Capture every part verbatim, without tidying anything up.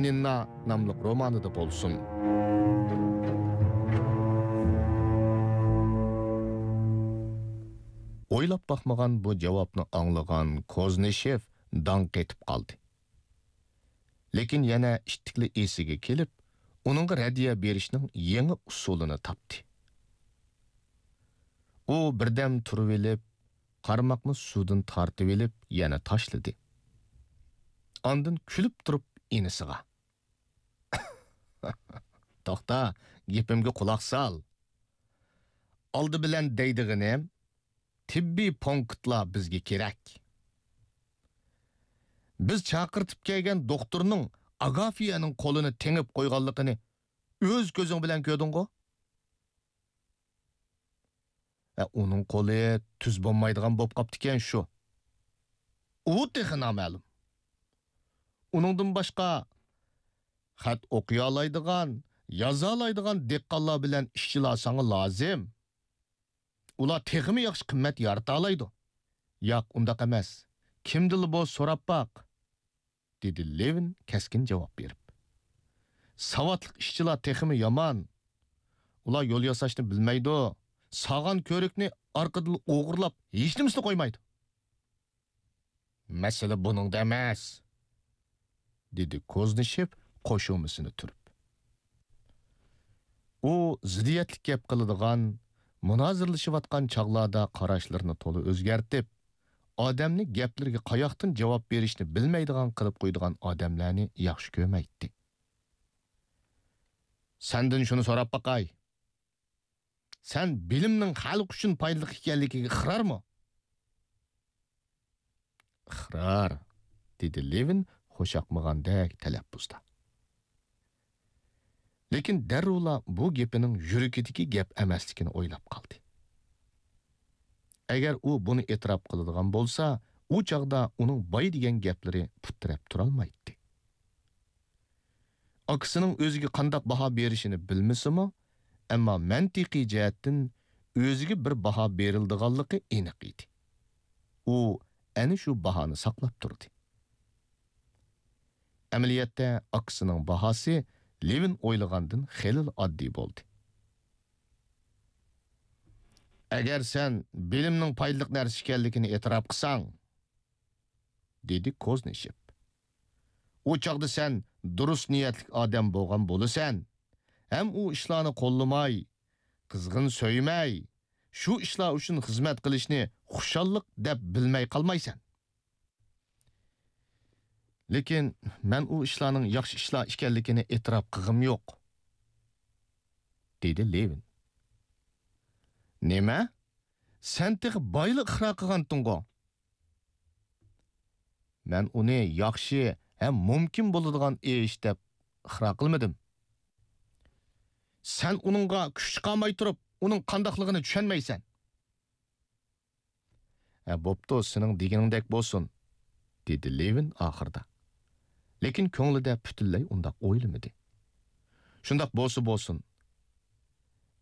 نىننا ناملىق رومانىدا بولسۇن. ئويلاپ باقمىغان بۇ جاۋابنى ئاڭلىغان كوزنىشېف داڭ قېتىپ قالدى. لېكىن يەنە ئىتتىكلا ئېسىگە كېلىپ، ئۇنىڭغا رەددىيە بېرىشنىڭ يېڭى ئۇسۇلىنى تاپتى. ئۇ بىردەم تۇرۇۋېلىپ، قارماقنى سۇدىن تارتىۋېلىپ، يەنە تاشلىدى. ئاندىن كۈلۈپ تۇرۇپ ئىنىسىغا: «توختا، گېپىمگە قۇلاق سال. ئالدى بىلەن دەيدىغىنىم، تېببىي پونكىتلار بىزگە كېرەك. بىز چاقىرتىپ كەلگەن دوختۇرنىڭ ئاگافىيەنىڭ قولىنى تېڭىپ قويغانلىقىنى ئۆز كۆزۈڭ بىلەن كۆردۈڭغۇ؟» «ئە، ئۇنىڭ قولى تۈز بولمايدىغان بولۇپ قاپتىكەن شۇ.» «ئۇ تېخى نامەلۇم. ئۇنىڭدىن باشقا خەت ئوقۇيالايدىغان، يازالايدىغان دېھقانلار بىلەن ئىشچىلار ساڭا لازىم. ئۇلار تېخىمۇ ياخشى قىممەت يارىتالايدۇ.» «ياق، ئۇنداق ئەمەس. كىمدىنلا بولسا سوراپ باق.» دېدى لېۋىن كەسكىن جاۋاب بېرىپ. «ساۋاتلىق ئىشچىلار تېخىمۇ يامان. ئۇلار يول ياساشنى بىلمەيدۇ. ساغان كۆرۈكنى ئارقىدىن ئوغرىلاپ، ھېچنېمىسىنى قويمايدۇ.» «مەسىلە بۇنىڭدا ئەمەس»، دېدى كوزنىشېف قوشۇمىسىنى تۈرۈپ. ئۇ زىددىيەتلىك گەپ قىلىدىغان، مۇنازىرىلىشىۋاتقان چاغلاردا قاراشلىرىنى تولا ئۆزگەرتىپ، ئادەمنى گەپلىرىگە قاياقتىن جاۋاب بېرىشنى بىلمەيدىغان قىلىپ قويىدىغان ئادەملەرنى ياخشى كۆرمەيتتى. «سەندىن شۇنى سوراپ باقاي. سەن بىلىمنىڭ خەلق ئۈچۈن پايدىلىق ئىكەنلىكىگە ئىقرارمۇ؟» «ئىقرار»، دېدى لېۋىن خۇشياقمىغاندەك تەلەپپۇزدا. لېكىن دەررۇلا بۇ گېپىنىڭ يۈرىكىدىكى گەپ ئەمەسلىكىنى ئويلاپ قالدى. ئەگەر ئۇ بۇنى ئېتىراپ قىلىدىغان بولسا، ئۇ چاغدا ئۇنىڭ باي دېگەن گەپلىرى پۇت تىرەپ تۇرالمايتتى. ئاكىسىنىڭ ئۆزىگە قانداق باھا بېرىشىنى بىلمىسىمۇ، ئەمما مەنتىقىي جەھەتتىن ئۆزىگە بىر باھا بېرىلىدىغانلىقى ئېنىق ئىدى. ئۇ ئەنە شۇ باھانى ساقلاپ تۇردى. ئەمەلىيەتتە ئاكىسىنىڭ باھاسى لېۋىن ئويلىغاندىن خېلىلا ئاددىي بولدى. «ئەگەر سەن بىلىمنىڭ پايدىلىق نەرسە ئىكەنلىكىنى ئېتىراپ قىلساڭ»، دېدى كوزنىشېف، «ئۇ چاغدا سەن دۇرۇس نىيەتلىك ئادەم بولغان بولىسەن ھەم ئۇ ئىشلارنى قوللىماي، قىزغىن سۆيمەي، شۇ ئىشلار ئۈچۈن خىزمەت قىلىشنى خۇشاللىق دەپ بىلمەي قالمايسەن.» «لېكىن مەن ئۇ ئىشلارنىڭ ياخشى ئىشلار ئىكەنلىكىنى ئېتىراپ قىلغۇم يوق»، دېدى لېۋىن. «نېمە؟ سەن تېخى بايىلا ئىقرار قىلغانتىڭغۇ؟» «مەن ئۇنى ياخشى ھەم مۇمكىن بولىدىغان ئىش دەپ ئىقرار قىلمىدىم.» «سەن ئۇنىڭغا كۈچ چىقارماي تۇرۇپ، ئۇنىڭ قانداقلىقىنى چۈشەنمەيسەن.» «ھە، بوپتۇ، سېنىڭ دېگىنىڭدەك بولسۇن»، دېدى لېۋىن ئاخىرىدا. لېكىن كۆڭلىدە پۈتۈنلەي ئۇنداق ئويلىمىدى. «شۇنداق بولسا بولسۇن.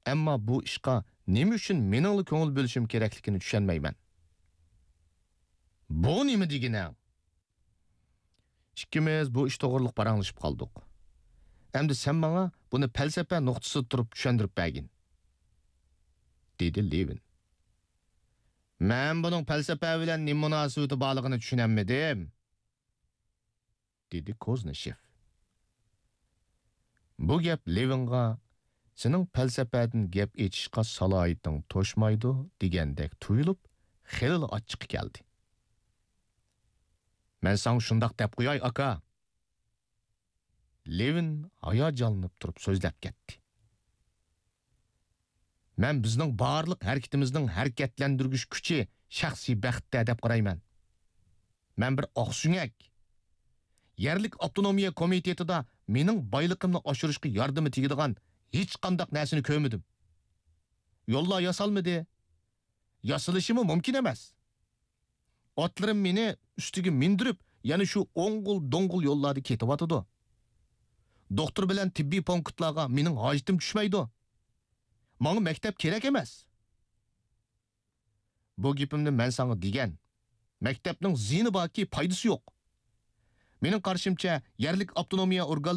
ئەمما بۇ ئىشقا نېمە ئۈچۈن مېنىڭلا كۆڭۈل بۆلۈشۈم كېرەكلىكىنى چۈشەنمەيمەن.» «بۇ نېمە دېگىنىڭ؟» «ئىككىمىز بۇ ئىش توغرىلىق پاراڭلىشىپ قالدۇق. ئەمدى سەن ماڭا بۇنى پەلسەپە نۇقتىسىدا تۇرۇپ چۈشەندۈرۈپ بەرگىن»، دېدى لېۋىن. «مەن بۇنىڭ پەلسەپە بىلەن نېمە مۇناسىۋىتى بارلىقىنى چۈشىنەلمىدىم»، دېدى كوزنىشېف. بۇ گەپ لېۋىنغا «سېنىڭ پەلسەپەدىن گەپ ئېچىشقا سالاھىيىتىڭ توشمايدۇ» دېگەندەك تۇيۇلۇپ، خېلىلا ئاچچىقى كەلدى. «مەن ساڭا شۇنداق دەپ قوياي، ئاكا.» لېۋىن ھاياجانلىنىپ تۇرۇپ سۆزلەپ كەتتى. «مەن بىزنىڭ بارلىق ھەرىكىتىمىزنىڭ ھەرىكەتلەندۈرگۈچ كۈچى شەخسىي بەختتە دەپ قارايمەن. مەن بىر ئاقسۆڭەك. يەرلىك ئاپتونومىيە كومىتېتىدا مېنىڭ بايلىقىمنى ئاشۇرۇشقا ياردىمى تېگىدىغان ھېچقانداق نەرسىنى كۆرمىدىم. يوللار ياسالمىدى. ياسىلىشىمۇ مۇمكىن ئەمەس. ئاتلىرىم مېنى ئۈستىگە مىندۈرۈپ، يەنە شۇ ئوڭغۇل-دوڭغۇل يوللاردا كېتىۋاتىدۇ. دوختۇر بىلەن تېببىي پونكىتلارغا مېنىڭ ھاجىتىم چۈشمەيدۇ. ماڭا مەكتەپ كېرەك ئەمەس. بۇ گېپىمنى مەن ساڭا دېگەن. مەكتەپنىڭ زىيىنى باركى، پايدىسى يوق. مېنىڭ قارىشىمچە، يەرلىك ئاپتونومىيە ئورگانلىرى